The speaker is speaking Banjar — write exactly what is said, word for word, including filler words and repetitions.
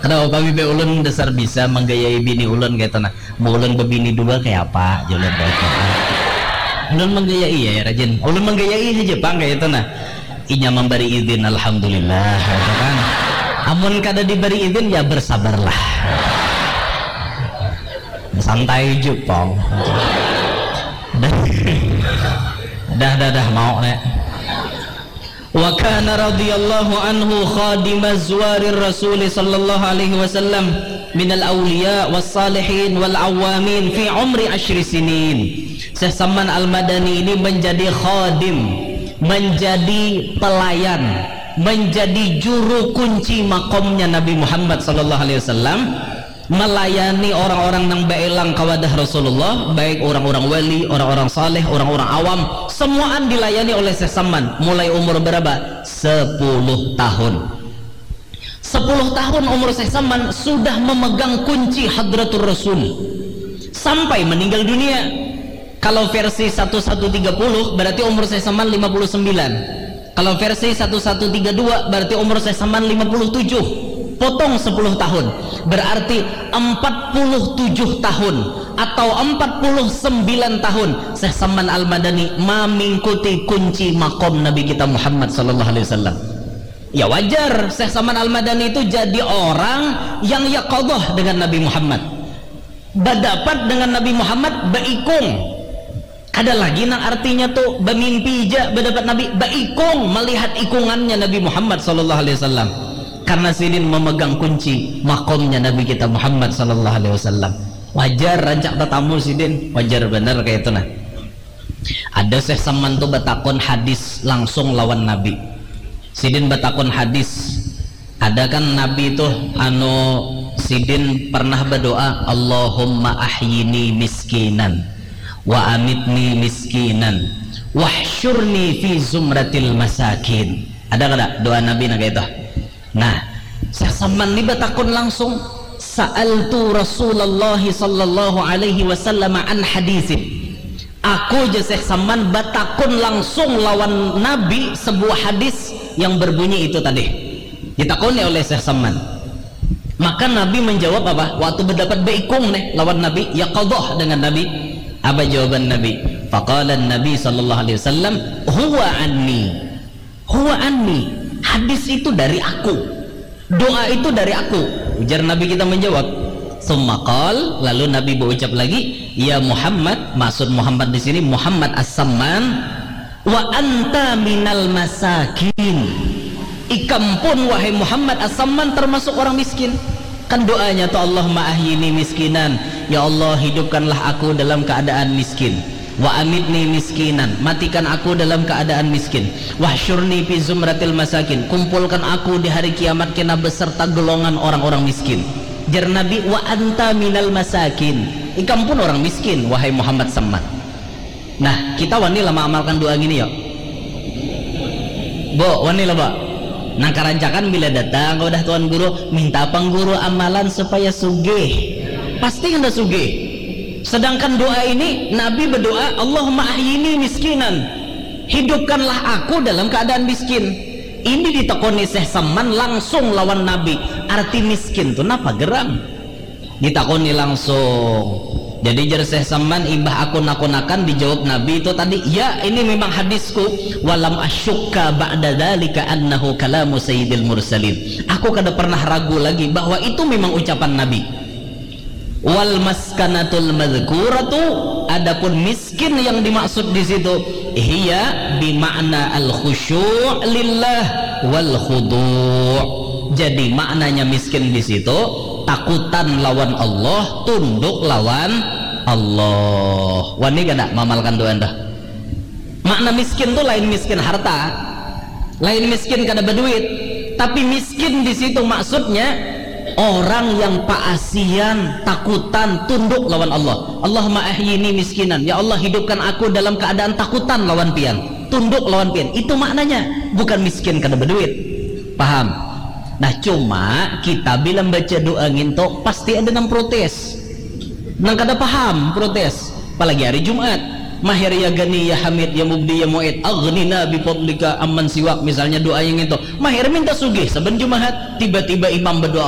Kenapa bibi ulun dasar bisa manggayai bini ulun kaitu nah. Mun ulun babini dua kaya apa? Jar ulun kaitu. Ulun manggayai ya, ya rajin. Ulun manggayai haja pang kaitu nah. Inya mambari izin, alhamdulillah, kaitu kan. Amun kada dibari izin, ya bersabarlah. Santai ja pang. Dah, dah, dah, dah, mau nek. Wa kana radhiyallahu anhu khadima zuwarir Rasul sallallahu alaihi wasallam minal awliya was salihin wal awamin fi umri asyri sinin. Syekh Saman Al-Madani ini menjadi khadim, menjadi pelayan, menjadi juru kunci makomnya Nabi Muhammad sallallahu alaihi wasallam, melayani orang-orang nang baelang ka wadah Rasulullah, baik orang-orang wali, orang-orang saleh, orang-orang awam, semuaan dilayani oleh Syekh Saman. Mulai umur berapa? Sepuluh tahun. Sepuluh tahun umur Syekh Saman sudah memegang kunci Hadratur Rasul sampai meninggal dunia. Kalau versi satu satu tiga puluh, berarti umur Syekh Saman lima puluh sembilan. Kalau versi satu satu tiga dua, berarti umur Syekh Saman lima puluh tujuh. Potong sepuluh tahun. Berarti empat puluh tujuh tahun atau empat puluh sembilan tahun Syekh Saman Al-Madani mamingkuti kunci makom Nabi kita Muhammad sallallahu alaihi wasallam. Ya wajar, Syekh Saman Al-Madani itu jadi orang yang yaqadhah dengan Nabi Muhammad. Badapat dengan Nabi Muhammad baikung. Kada lagi nang artinya tu bamimpi ja badapat Nabi, baikung malihat ikungannya Nabi Muhammad sallallahu alaihi wasallam. Karena sidin memegang kunci makomnya Nabi kita Muhammad sallallahu alaihi wasallam. Wajar rancak tatamu sidin, wajar banar kaitu nah. Ada Syekh Saman tu batakun hadis langsung lawan Nabi. Sidin batakun hadis. Ada kan Nabi tuh anu sidin pernah berdoa, "Allahumma ahyini miskinan wa amitni miskinan wahsyurni fi zumratil masakin." Ada kada doa Nabi nang itu? Nah, Syekh Saman ni batakun langsung, "Sa'altu Rasulullah sallallahu alaihi wasallam an hadisin." Aku ja Syekh Saman batakun langsung lawan Nabi sebuah hadis yang berbunyi itu tadi. Ditakuni oleh Syekh Saman. Maka Nabi menjawab apa? Waktu berdapat baikung nih lawan Nabi, yaqadhah dengan Nabi. Apa jawaban Nabi? Faqala Nabi sallallahu alaihi wasallam, "Huwa anni." "Huwa anni." Hadis itu dari aku. Doa itu dari aku. Ujar Nabi kita menjawab. Tsumma qal, lalu Nabi berucap lagi, "Ya Muhammad," maksud Muhammad di sini Muhammad As-Samman, "wa anta minal masakin." Ikam pun, wahai Muhammad As-Samman, termasuk orang miskin. Kan doanya tu, "Allahumma ahyini miskinan." Ya Allah, hidupkanlah aku dalam keadaan miskin. "Wa amitni miskinan." Matikan aku dalam keadaan miskin. "Wahsyurni fi zumratil masakin." Kumpulkan aku di hari kiamat kena beserta golongan orang-orang miskin. Jar Nabi, "Wa anta minal masakin." Ikam pun orang miskin, wahai Muhammad Samman. Nah, kita wani lah maamalkan doa gini, yuk. Bu, wani lah, Bu. Nah, karancakan bila datang ke wadah Tuan Guru, minta pang Guru amalan supaya sugih. Pasti anda sugih. Sedangkan doa ini, Nabi berdoa, "Allahumma ahyini miskinan." Hidupkanlah aku dalam keadaan miskin. Ini ditekuni Syekh Saman langsung lawan Nabi. Arti miskin tu napa gerang? Ditakuni langsung. Jadi jar Syekh Saman, imbah aku nakunakan, dijawab Nabi itu tadi, "Ya, ini memang hadisku. Walam asyukka ba'da dzalika annahu kalamu sayyidil mursalin." Aku kada pernah ragu lagi bahwa itu memang ucapan Nabi. Wal maskanatul madzkuratu, adapun miskin yang dimaksud di situ, hiya bima'na al khusyu' lillah wal khudu'. Jadi maknanya miskin di situ takutan lawan Allah, tunduk lawan Allah. Wani kada mamalkan doa dah? Makna miskin tu lain miskin harta, lain miskin kada baduit, tapi miskin di situ maksudnya orang yang paasian, takutan, tunduk lawan Allah. "Allahumma ahyini miskinan." Ya Allah, hidupkan aku dalam keadaan takutan lawan Pian, tunduk lawan Pian. Itu maknanya, bukan miskin kada baduit. Paham? Nah, cuma kita bila membaca doa nginto pasti ada nang protes. Nang kada paham protes. Apalagi hari Jumat. "Mahir ya Gani ya Hamid ya Mubdi ya Mu'id, aghnina bi fadlika amman siwak." Misalnya doa yang itu. Mahir minta sugih saban Jumahat, tiba-tiba imam berdoa,